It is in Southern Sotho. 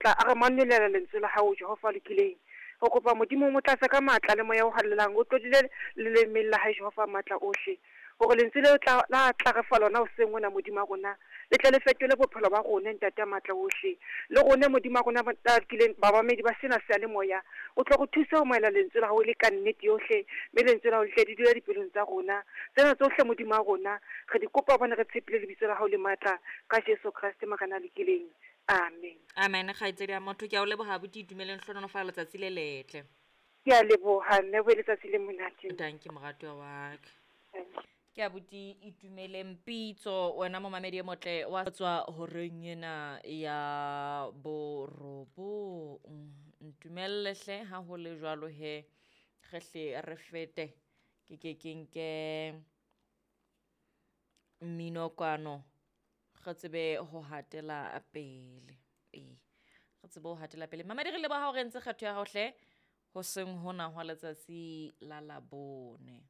Tla a re manolela lentswe la hao, Jehova a lokileng. Re kopa Modimo o mo tlatse ka matla le moya o halalelang, o tlodile lelemeng la hae, Jehova matla ohle, hore lentswe leo tla la tla re fa lona hoseng hona, Modimo wa rona, le tle le fetole bophelo ba rona, Ntate a matla ohle. Le rona, Modimo wa rona ba lokileng, bamamedi ba sena seyalemoya, o tlo re thuse ho amohela lentswe la hao e le ka nnete yohle, mme lentswe la hao le tle le dule dipelong tsa rona. Tsena tsohle, Modimo wa rona, re di kopa hobane re tshepile lebitso la hao le matla, ka Jesu Kreste Morena a lokileng. Amen. Amen, kgaitsedi ya motho, ke a o leboha abuti Itumeleng, hlohonolofala letsatsi le letle. Ke a leboha mme, o be letsatsi le monate. Dankie moratuwa wa ka. Ke abuti Itumeleng Pitso, wena momamedi e motle wa tswa horeng ena ya borobong. Ntumelle hle ha ho le jwalo he, re hle re fete ke ke ke nke mmino kwano re tsebe ho hatela pele. Ee, re tsebe ho hatela pele. Mamedi, re leboha hore ntse kgetho ya hao hle hoseng hona hwa letsatsi la Labone.